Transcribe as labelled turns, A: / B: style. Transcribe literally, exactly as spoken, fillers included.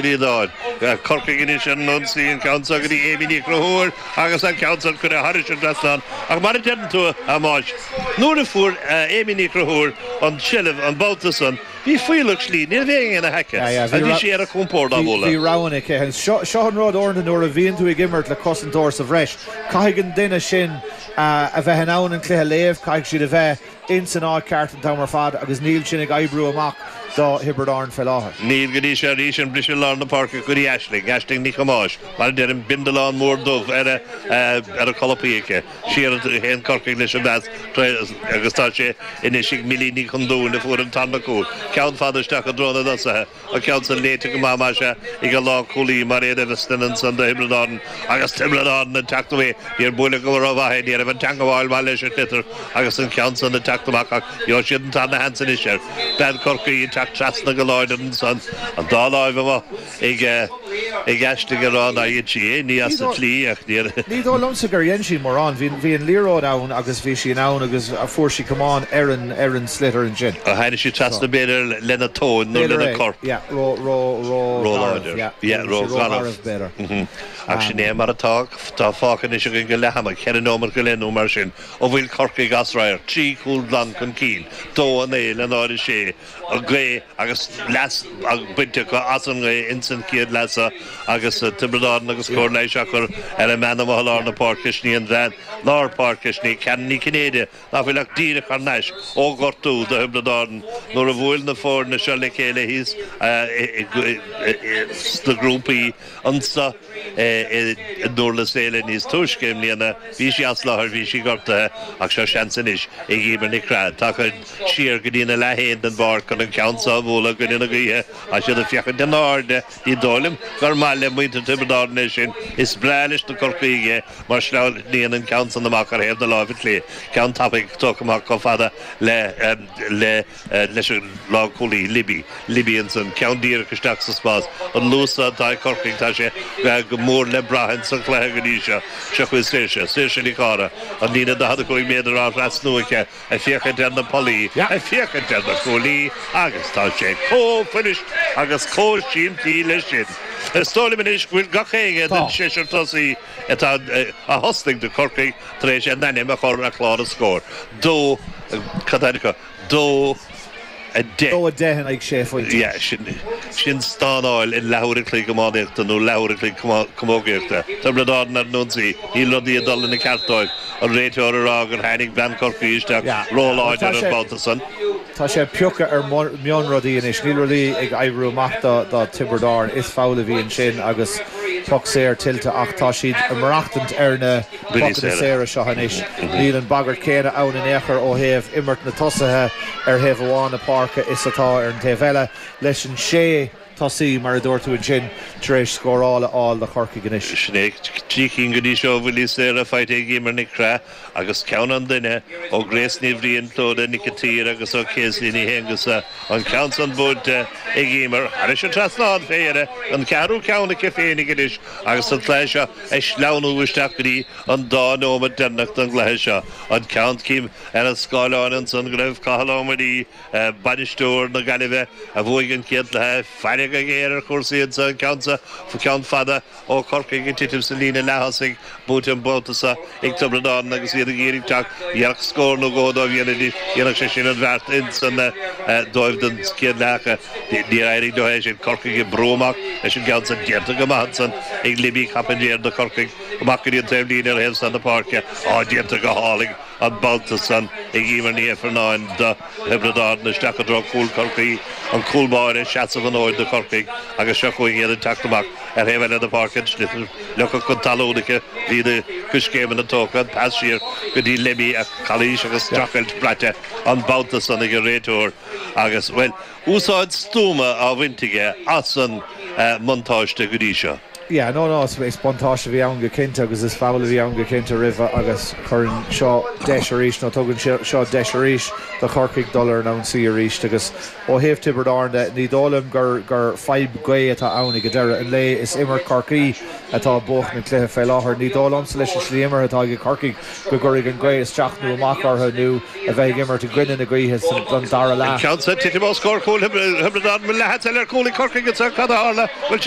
A: Ríadáin. Corcaigh anois ar an ionsaí, an ceann seo go dtí Amy Ní Chonchúir agus an ceann san curtha thairis an trasnán. Ach mar a deireann tú, a Thomáis, nuair a fuair Amy Ní Chonchúir an tseilbh an babhta san, bhí fuílleach slí, ní raibh éinne ina haice agus bhí sí ar a compord á bualadh.
B: Bhí roghanna aici. Seo an rud uaireanta nuair a bhíonn tú ag imirt le cosantóir sa bhreis, caithfidh an duine sin a bheith in ann an cluiche a léamh, caithfidh siad a bheith ins an áit ceart an t-am ar fad agus níl sin ag oibriú amach do Thiobraid Árann fé láthair.
A: Níl go dtí seo arís an briseadh lár na páirce go dtí Aisling, Aisling Nic Thomáis, mar a deirim, bindealán mór dubh ar a ar a colapaí aici. Siar a théann Corcaigh leis an bpas agus tá sé anois ag Millie Ní Chondúin a fuair an tarna cúl. Ceann fada isteach i dtreo na dtosaithe. An ceann san léite go maith, más ea, ag an lánchúlaí Mairéad Eviston ansan do Thiobraid Árann agus Tiobraid Árann ag teacht away. Níor buaileadh go rómhaith é, ní raibh an teangabháil maith leis an sliotar agus an ceann san ag teacht amach ach gheobhaidh siad an tarna sheans anois air. Bean Chorcaí ag teacht trasna go láidir ansan, an dá láimh amuigh ag ag Aisling ag rá nár dhein sí aon ní as an tslí ach níor.
B: Ní dóigh liomsa gur dhein sí mórán. Bhí bhí an liathróid ann agus bhí sí in ann agus fuair sí camán ar an ar an sliotar ansin.
A: Tháinig sí trasna b'fhéidir lena tóin nó
B: B'fhéidir
A: lena
B: é,
A: corp.
B: yeah, ró ró ró
A: Ró
B: gharbh,
A: láidir.
B: yeah,
A: Yeah,
B: bhí
A: ró
B: sí ró
A: gharbh.
B: gharbh b'fhéidir.
A: Ach sin é mar atá, tá fágtha anois againn go leath ama, ceithre nóiméad go leith nó mar sin, ó bhfuil Corcaigh as radharc, trí chúl glan chun cinn, dó a naoi le náid a sé, an ghaoth agus leas bainte acu as an ngaoth ins an chéad leath seo agus Tiobraid Árann agus cóir leighis á cur ar an mbean amuigh i lár na páirce, sin í an bhean lár páirce, sin í Karen Ní Chinnéide, nach bhfuil ach díreach thar n-ais ó ghortú do Thiobraid Árann nuair a bhuail na foirne seo le chéile thíos sna grúpaí anso i nDurlas Éile níos túisce i mbliana. Bhí sí as láthair, bhí sí gortaithe ach seo seans anois ag Emer Nic Craith. Tagtha siar go dtí na leath-fhéin den bpáirc chun an ceann seo a bhualadh i gcoinne na gaoithe. Tá siad ag féachaint in airde. Ní dóigh liom gur maith le muintir Tiobraid Árann é sin. Is breá leis na Corcaígh é mar sleamhnaíonn an ceann san amach ar thaobh na láimhe clé. Ceann tapaidh tógtha amach chomh fada le le leis an lánchúlaí Libby. Libby ansan, ceann díreach isteach sa spás. An luas atá ag Corcaigh, tá sé go mór le brath ins an chluiche go dtí seo. Seo chugainn Saoirse, Saoirse Nic Cára, an líne daichead a cúig méadar á thrasnú aici, ag féachaint ar na pollaí, ag féachaint ar na cuaillí agus tá sé chomh fuirist agus chomh simplí leis sin. Is dóigh liom anois go bhfuil gach éinne den seisear tosaí atá a thosnaigh do Chorcaigh tar éis a n-ainm a chur ar chlár na scór. Dó, cad é acu? Dó a deich.
B: Dó a deich in aghaidh sé phointe.
A: Yeah, sin, sin stánáil in leathuair a chloig iománaíochta nó leathuair a chloig camógaíochta. Tiobraid Árann ar an ionsaí, níl rudaí ag dul ina ceart dóibh. An réiteoir ag rá gur tháinig bean Chorcaí isteach
B: Yeah.
A: róláidir
B: Tá
A: an
B: sé-
A: babhta san.
B: Tá sé ag piocadh ar mhionrudaí anois, níl rudaí ag oibriú amach do do Tiobraid Árann. Is foul a bhí ansin agus poc saor tuillte ach tá siad ag maireachtaint ar na
A: Buillí
B: pocanna
A: saora.
B: saora seo anois. Níl an bagairt céanna ann in aon chor ó thaobh imirt na tosaithe ar thaobh amháin na páirce is atá ar an taobh eile leis an sé tosaí mar a dúirt tú ansin tar éis scóráil a fháil do Chorcaigh anois.
A: Sin é trí cinn go dtí seo bhuillí saora faighte ag Emer Nic Craith agus ceann an duine ó Grace Ní Bhriain Clóda Nic an tSaoir agus ó Casey Ní hAonghusa an ceann san buailte ag Emer thairis an trasnán fé dheireadh an ceathrú ceann aici féinig anois agus an cluiche seo ag sleamhnú isteach go dtí an dá nóiméad deireanach den gcluiche seo. An ceann cím ar an scáileán ansan go raibh Cathal Ó Muirí bainisteoir na Gaillimhe a bhuaigh an chéad chluiche faire go géar ar chúrsaí anso an ceann sa ceann fada ó Chorcaigh ag titim sa líne leath-thosaigh buaite an babhta seo ag Tiobraid Árann agus iad ag iarraidh teacht dhéanfadh scór nó dhó dóibh dhéanfaidís dhéanfadh sé sin an bheart insan dóibh don chéad leath níor éirigh leo é sin Corcaigh ag brú amach leis an gceann san déanta go maith ansan ag Libby Carpentier do Chorcaigh amach go dtí an taobhlíne ar thaobh san na páirce á déanta go hálainn an babhta san ag Emer Ní Ifearnáin do Thiobraid Árann isteach i dtreo cúl Chorcaí an cúl báire seasamh an fhóid do Chorcaigh agus seo chugainn iad ag teacht amach ar thaobh eile na páirce an sliotar leagtha chun talún aici bhí na coiscéimeanna tógtha an pas siar go dtí Libby a calaois agus streachailt braite an babhta san ag an réiteoir agus well úsáid stuama á bhaint aige as an mbuntáiste go dtí seo.
B: Yeah, no no is buntáiste a bhí ann go cinnte agus is foul a bhí ann go cinnte roimhe agus chuireann seo deis arís nó tugann seo deis arís do Chorcaigh dul ar an ionsaí arís agus ó thaobh Tiobraid Árann de ní dóigh liom gur gur fadhb gaoth atá ann ag deireadh an lae is imirt Chorcaí atá ag buachan an cluiche fé láthair ní dóigh liomsa leis an slí imeartha atá ag Corcaigh go gcuirfidh an ghaoth isteach nó amach orthu nó a bheith ag imirt i gcoinne na gaoithe don dara leath.
A: Ceann titim os comhair chúl Thiobraid Árann leath eile ar cúl ag Corcaigh cad a tharla bhfuil sé